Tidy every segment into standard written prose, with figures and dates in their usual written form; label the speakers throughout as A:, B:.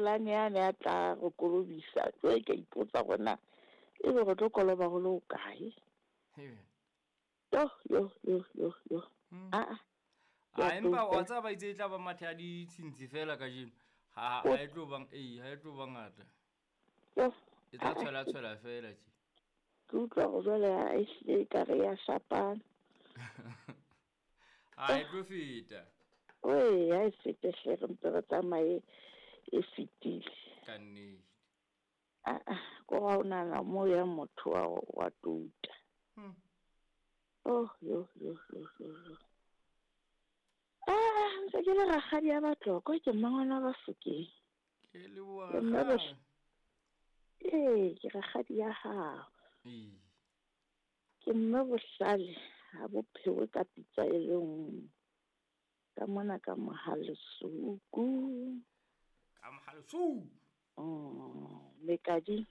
A: Rulane yane a tla re kolobisa. Jwale ke a ipotsa hore na ebe re tlo koloba ho le hokae. Yo, yo, yo, yo, yo. Aa.
B: A empa wa tseba ba itse e tla ba mathe a ditshintshi fela kajeno. Ha ha e tlo bang ee, ha e tlo ba ngata.
A: Yo.
B: E tla tshwela tshwela fela tje.
A: Ke utlwa hore jwale ha e hlile ekare ya shapana.
B: Ha e tlo feta.
A: Wee, ha e fete hle, re mpe re tsamaye e fetile.
B: Ka nnete.
A: Aa, ko ga o nahana mo ya motho wa wa touta. Oh, yo, yo, yo, yo, yo. Ah, ntse ke le rakgadi ya Batlokwa, ke mmangwana wa Bafokeng.
B: Ke leboha
A: Ke mme
B: rakgadi.
A: Ee, ke rakgadi ya hao.
B: Ee.
A: Ke mme bohlale ha bo phewe ka pitsa e le nngwe. Ka mona ka Mohalesuku.
B: Ka Mohalesuku.
A: Mekadi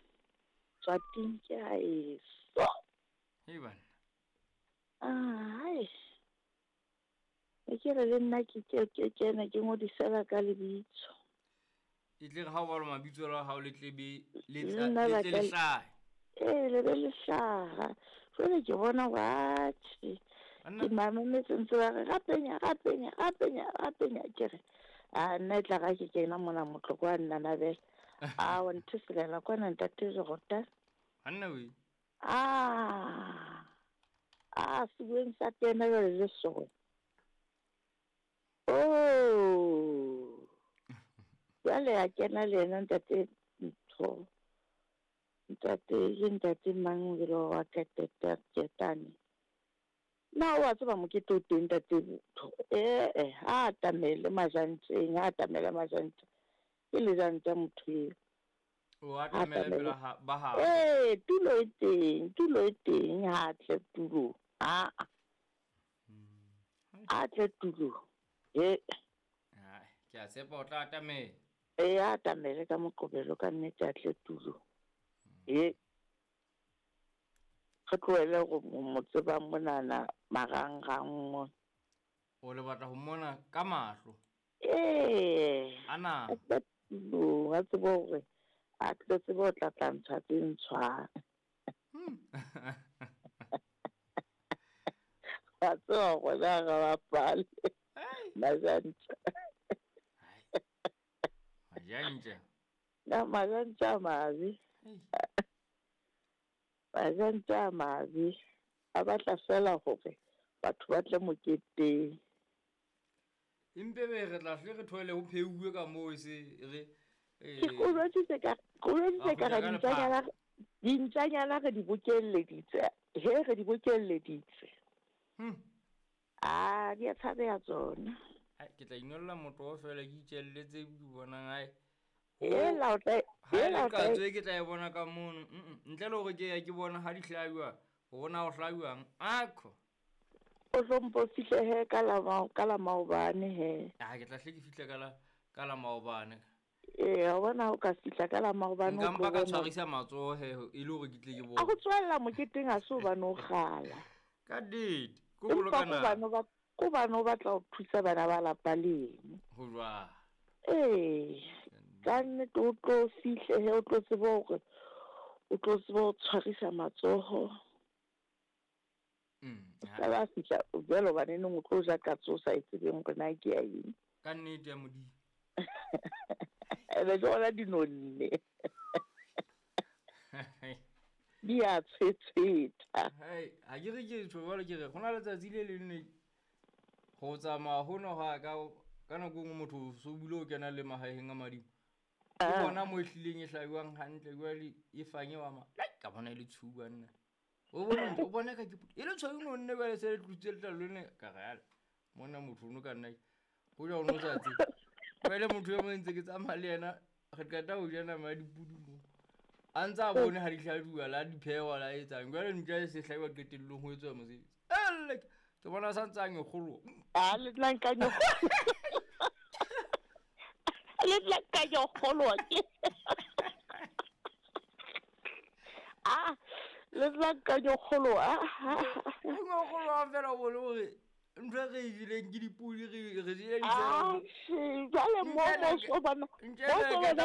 A: Tswating ke haeso.
B: Hei banna.
A: Ah, hai. E ke re le nna ke ke ke kene ke ngodisela ka lebitso.
B: E tle re ha o balwa mabitso la hao le tle be le
A: Le
B: tla
A: nna
B: le
A: ba
B: tle
A: ka
B: le hlahe.
A: Ee, le be le hlaha. Jwale ke bona hore atjhe.
B: Banna.
A: Ke mametse ntse ba re rapenya, rapenya, rapenya, rapenya. Ke re a nna e tla ra ke kena mona motloko wa nnanabela. A wa ntheselela kwana ntate Jordan.
B: Banna we.
A: Ah. Ah, sebueng sa tena jwale le sona. Oh. Jwale a kena le yena ntate ntho. Ntate ke ntate mang o wa Ketane. Na o a tseba mokete o teng ntate ntho. Eh, ha atamele majanteng, ha atamele majanteng. Ke lejanta motho eo.
B: O atamele pela ha ba ha.
A: Eh, tulo e teng, tulo e teng ha tle tulo. Ah. A tle tulo. Eh.
B: Hai, ke a tshepa o tla atamela.
A: Eh, a atamele ka Moqebelo ka nnete a tle tulo. Eh. Re tlohele go mo tseba monana marangrang mo.
B: O le batla ho mmona ka mahlo.
A: Eh.
B: Ana.
A: A tle tulong, a tsebe hore a tle tsebe ho tla tla ntsha tse ntshwang. Wa tseba hore na re bapale. Majantja.
B: Majantja.
A: Na majantja a mabe. Majantja a mabe. A batla fela hore batho ba tle moketeng.
B: Empe be re tla hle re thoele ho pheuwe ka moo e se re
A: Ke o jwetsitse ka ke o jwetsitse ka re dintjanyana dintjanyana re di bokelleditse. He re di bokelleditse. Ah, di a tshabeha tsona.
B: Hai, ke tla inolla motoho fela ke itjelle tse ke bonang hae.
A: Ela o tla
B: Ha e
A: ela
B: le
A: o tla
B: katso e ke tla e bona ka mono. Ntle le hore ke ya ke bona ha di hlajwa, hore na ho hlajwang. Akho.
A: O tlo mpo fihle he ka la ka la maobane he.
B: Ah, ke tla hle ke fihle ka la maobane.
A: Ee, wa bona o ka fihla ka la maobane.
B: Nka mpa ka tshwarisa matsoho he e le hore ke tle ke bone.
A: A go tswella moketeng ha se hobane o kgala.
B: Ka nnete, ko boloka nako.
A: Ko bane o batla ho thusa bana ba lapa leno.
B: Ho jwang?
A: Ee, ka nnete o tlo fihle he o tlo tseba hore o tlo tseba ho tshwarisa matsoho. Ka ba fihla jwale hobane neng o tlo ja katso o sa e tsebeng hore na ke ya eng.
B: Ka nnete ya Modimo.
A: Ebe ke gona di nonne. Di a tshwetshwetha.
B: Hai, ha ke re ke tjho jwale ke re go na letsatsi le leng ne go tsamaya hono ha ka ka nako e nngwe motho so bile o kena le mahaeng a madimo. Ke bona mo e hlileng e hlabiwang hantle jwale e fanye wa ma. Ka bona e le tshuba nna. O bona o bona ka ke e le tshweu nonne jwale se le tlositse letlalo lene ka re ala. Mona motho ono ka nna ho ja o no sa tsebe. Jwale motho e mong ntse ke tsamaya le yena re qeta ho ja nama ya dipudi mo. A ntse a bone ha di hlajuwa la di phehwa la etsang. Jwale ntja e se hlabiwa qetellong ho etswa mosebetsi. Elle ke bona sa ntse a nyokgoloha.
A: Ah, le tla nka Le tla nka nyokgoloha ke. Ah, le tla nka nyokgoloha.
B: Nyokgoloha fela o bone hore ntho e re e jeleng ke dipodi re jele
A: Ah, jwale mo mo so bona.
B: Ntja e